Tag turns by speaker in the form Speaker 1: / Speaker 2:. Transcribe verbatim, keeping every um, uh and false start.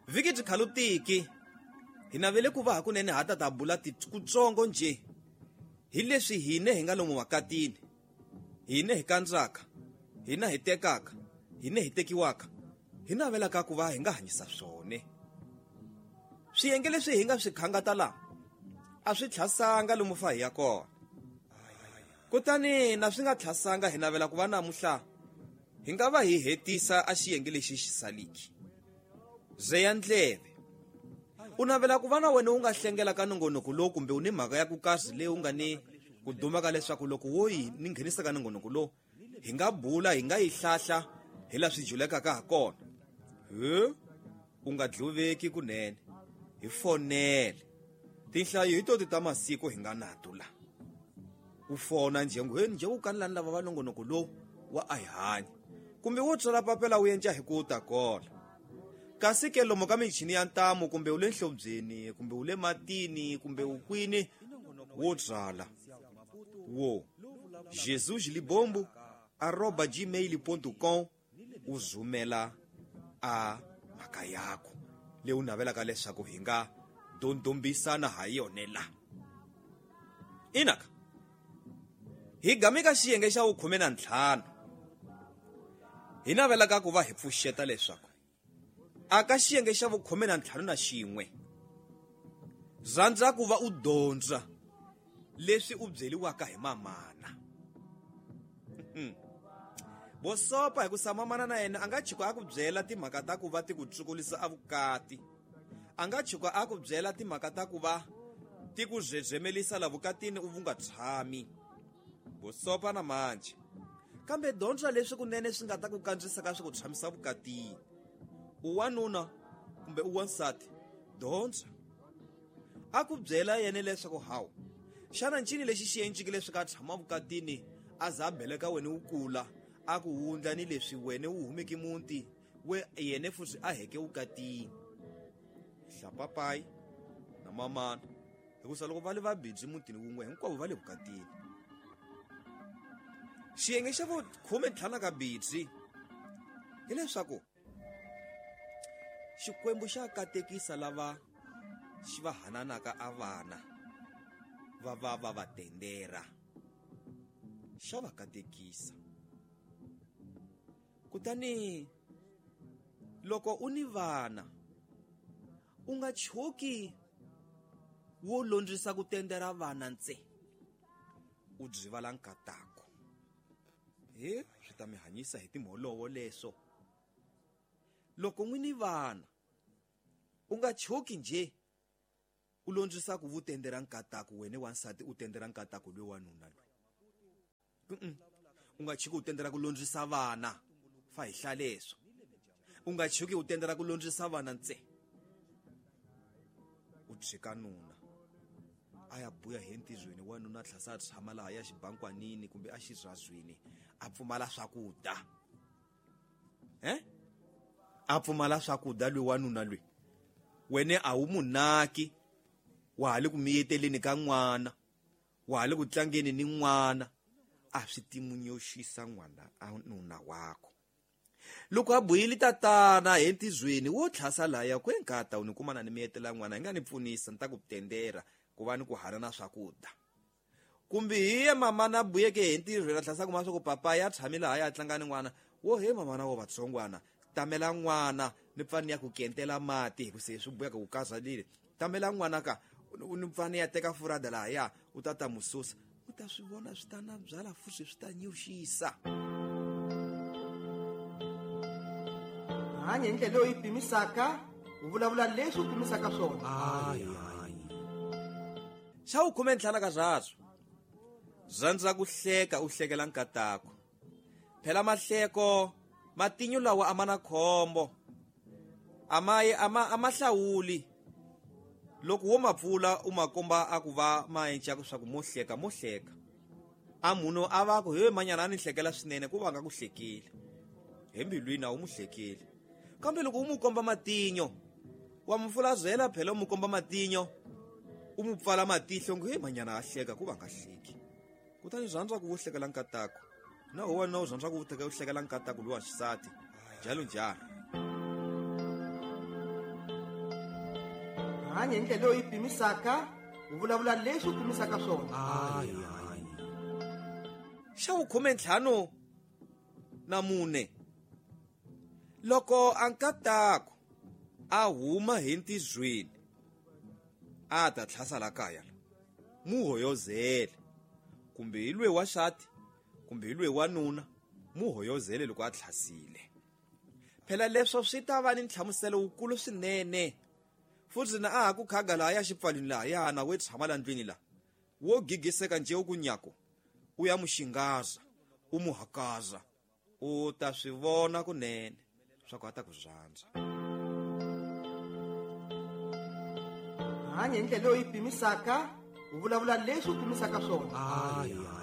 Speaker 1: Vhiki byi khalutiki hi navele ku va hakunene ha ta ta bula tikutsongo nje hi leswi hine hi nga lomu makatini, hine hi kandzaka, hina hi tekaka, hine hi tekiwaka, hi navelaka ku va hi nga hanyisa swone. Swiyenge leswi hi nga swi khangata laha a swi tlhasanga lomu fa hi ya kona. Kutani na swi nga tlhasanga hi navela ku va namuhla hi nga va hi hetisa a xiyenge lexi xi saliki. Zeya ndleve. U navela ku va na wena u nga hlengela ka nongonoko lowu kumbe u ni mhaka ya ku kazi leyi u nga ni ku duma ka leswaku loko wo yi ni nghenisa ka nongonoko lowu hi nga bula, hi nga yi hlahla hi laha swi julekaka ha kona. He, u nga dluveki kunene, hi fonele. Tinhlayo hi toti ta masiku hi nga nato la. U fona nje ngu, he nje u kanelani lava va nongonoko lowu wa a hi hanyi. Kumbe wo tswala papela u endla hi ku ta kola. Kasi ke lomu ka michini ya ntamu kumbe u le nhlobyeni kumbe u le matini kumbe u kwini wo tswala wo jesus libombo arroba gmail ponto com u zumela a mhaka yako leyi u navelaka leswaku hi nga dondombisana ha yona la. Inaka hi gameka xiyenge xa vukhume na ntlhanu hi navelaka ku va hi pfuxeta leswaku aka xiyenge xa vukhume na ntlhanu na xin'we rhandza ku va u dyondza leswi u byeliwaka hi mamana. Bosopa hi ku sa mamana na yena a nga chika a ku byela timhaka ta ku va ti ku tsukulisa a vukati, a nga chika a ku byela timhaka ta ku va ti ku dzedzemelisa la vukatini u vunga tshami. Bosopa na manje kambe dyondza leswi kunene swi nga ta ku kandzisa ka swi ku tshamisa vukatini. U wanuna kumbe u wansati, dyondza a ku byela yena leswaku hawu xana ncini lexi xi enciki leswi ka tshama vukatini a za a beleka wena wu kula a ku wundla ni leswi wena wu humeke muti we yena futhi a heke vukatini. Hlapapayi na mamana hikusa loko va le va bidzi mutini wun'we hinkwavo va le vukatini. Xiyenge xa vukhume ntlhanu ka bidzi hileswaku Xikwembu xa katekisa lava xi va hananaka a vana va va va va tendera, xa va katekisa. Kutani loko u ni vana u nga choki wo londzisa ku tendera vana ntse u byivala nkatako. He, swi ta mi hanyisa hi timholovo leswo. Loko n'wi ni vana u nga choki nje u londzisa ku vutendera nkatako wena wansati u tendera nkatako loyi wanuna loyi. U nga choki u tendera ku londzisa vana fa hi hlaleswo. U nga choki u tendera ku londzisa vana ntse u tshika nuna a ya buya hi ntizweni wanuna tlhasa a tshama laha ya xibankwanini kumbe a xirhazwini a pfumala swakudya. Eh? A pfumala swakudya loyi wanuna loyi wene a wu munaki, wa ha le ku miyeteleni ka n'wana, wa ha le ku tlangeni ni n'wana, a swi timunyoxisa n'wana a nuna wako. Loko a buyile tatana hi ntizweni wo tlhasa laya ku enkata u ni kumana ni miyetela n'wana hi nga ni pfunisa ni ta ku tendera ku va ni ku hanana swakudya. Kumbe hi ye mamana buyeke hi ntirhweni a tlhasa kuma swa ku papa ya tshamile laha ya tlanga ni n'wana wo he mamana wo vatsongwana tamela n'wana ni pfani ya ku kentela mati hi ku se swi buyaka ku kazalile tamela n'wana ka ni pfani ya teka furada laha ya u ta ta mususa u ta swi vona swi ta na byala futhi swi ta nyuxisa.
Speaker 2: Hanya hi ndlela leyi pimisaka u vulavula leswi u pimisaka swona.
Speaker 1: Hayi hayi xa vukhume ntlhanu ka swaswo rhandza ku hleka u hlekela nkatako. Phela mahleko matinyo lawa a ma na khombo, a ma a ma a ma hlawuli. Loko wo ma pfula u ma komba a ku va ma enca swa ku mo hleka mo hleka a munhu a va ku he manyana a ni hlekela swinene ku va nga ku hlekile hi mbilwini a wu mu hlekile. Kambe loko u mu komba matinyo wa mu fulazela phela u mu komba matinyo u mu pfala matihlo ngo he manyana a hleka ku va nga hleki. Kutani rhandza ku vo hlekela nkatako na ho wena u rhandza ku teka u hlekela nkatako lowa xisati njalo njalo.
Speaker 2: Hanya hi ndlela leyi u yi pimisaka, u vulavula leswi u pimisaka swona.
Speaker 1: Xa vukhume ntlhanu na mune, loko a nkataku a huma hi ntizweni a ta tlhasa la kaya la, mu hoyozele, kumbe hi lwe wa xati kumbe hi lwe wa nuna, mu hoyozele loko a tlhasile. Phela leswo swi ta va ni nhlamuselo wukulu swinene. Futhi na a ha ku khaga lahaya xipfalwini lahaya na we tshama la ndlwini la, wo gigiseka nje u ku nyako u ya muxingaza u mu hakaza, u ta swi vona kunene swa ku a ta ku rhandza.
Speaker 2: Hanya hi ndlela leyi u yi pimisaka, u vulavula leswi u pimisaka swona.